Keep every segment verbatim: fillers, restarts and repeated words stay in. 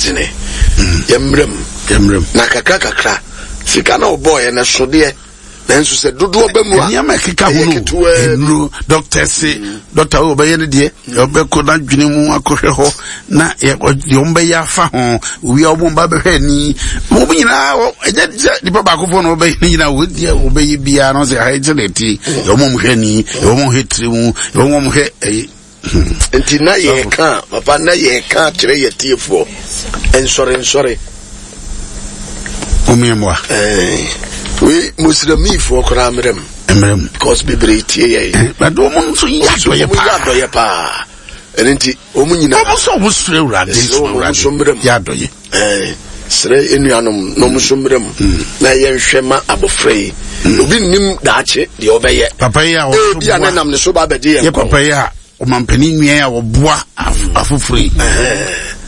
dene yɛmmerɛ mu Yɛmmerɛ mu. Na kakra kakra sika na ɔbɔɔyɛ no sodeɛ, nanso sɛ dodoɔ bɛ mu a, nneɛma ɛkeka ho ɛyɛ no, ketewaa bi. Nnuro, doctor se doctor wo ɔbɛyɛ no deɛ, ɔbɛkɔ n'adwene mu akɔhwɛ hɔ na yɛ- ɔ- deɛ ɔmbɛyɛ afa ho owia, ɔmo mba bɛhwɛ ani, wɔn nyinaa wɔ- ɛnyɛ sɛ nipa baako fɔ na ɔbɛyɛ ne nyinaa. Wɔn deɛ ɔbɛyɛ biara no sɛ ha ɛkyɛ na ɛti yɛ, ɔmo hwɛ ani yɛ, ɔmo hwɛ tiri mu yɛ, ɔmo hwɛ ɛyi. Nti na yɛka, papa, na yɛka kyerɛ yɛ tiefoɔ, nsɔre nsɔre. Ɔmo yɛ mmoa. Ɛɛ, wei muslimfoɔ koraa mmerɛ mu. Mmerɛ mu. Because bebree tie yɛ. But ɔmo nso yɛ adɔyɛ. Ɔmo yɛ paa. Adɔyɛ paa, ɛno nti ɔmo nyinaa ɔmo nso ɔmo srɛ Awurade. Ɛsrɛ wɔn, ɔmo nso mmerɛ mu. Yɛ adɔyɛ. Ɛɛ, srɛ enuanom na ɔmo nso mmerɛ mu na yɛnhwɛ ma abɔfra yi. Obi nnim daakye deɛ ɔbɛyɛ. Papa yi a wɔso Ebi a ne boa nam ne so ba abɛgye yɛn yɛ kɔn. Papa yi a ɔmampanin nua a wɔboa af- afoforɔ yi,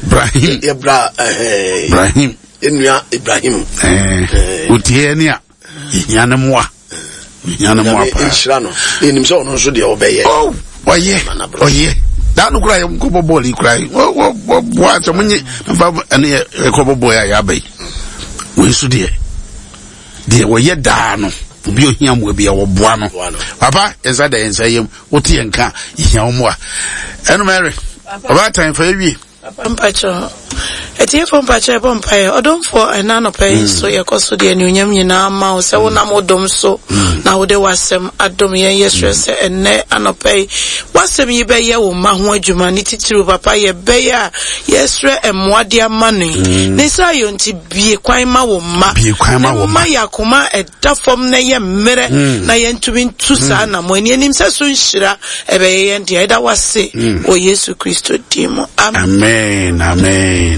Ibrahim. Yɛbra ɛhɛn. Ibrahim. Enua Ibrahim. Ɛɛ, otie ni a yɛhia ne mmoa, yɛhia ne mmoa Nyame paa. nhyira no na enim sɛ ɔno nso deɛ ɔbɛyɛ. Oh, ɔyɛ ɔyɛ daa no koraa yɛnkɔbɔ bɔɔl yi koraa yi, wɔ- wɔ- wɔboa sɛ monye mfa ɛne yɛ yɛkɔbɔ bɔɔl yi a yɛaba yi. Wei nso deɛ deɛ wɔyɛ daa no, obi a ohia mmoa bi a wɔboa no. Boa no. Papa, yɛnsa da yɛnsa yam, wote yɛn ka, yɛhia wo mmoa. Ɛno mɛre ɔbaatan fa yɛwie. Papa, mpakyɛ atiefo, mpakyɛ ɛbɔ mpaeɛ. Ɔdomfoɔ, ɛna anɔpa yi nso yɛkɔ so deɛ anuonyam nyinaa ma wo sɛ wonam wo dom so na wode w'asɛm adom yɛn. Yɛsrɛ sɛ ɛnnɛ anɔpa yi w'asɛm yi bɛyɛ wo mma ho adwuma ne titiriw. Papa, yɛbɛyɛ a yɛsrɛ mmoa de ama no yi ne sɛ ayɔ nti bie kwan ma wo mma. Bie kwan ma wo mma. Ma yɛ akoma a ɛda fam na ɛyɛ mmerɛ na yɛntumi ntu saa anammɔ ani anim sɛ so nhyira ɛbɛyɛ yɛn deɛ. Ɛda wase wɔ Yesu Kristo din mu, amen. Amen, amen.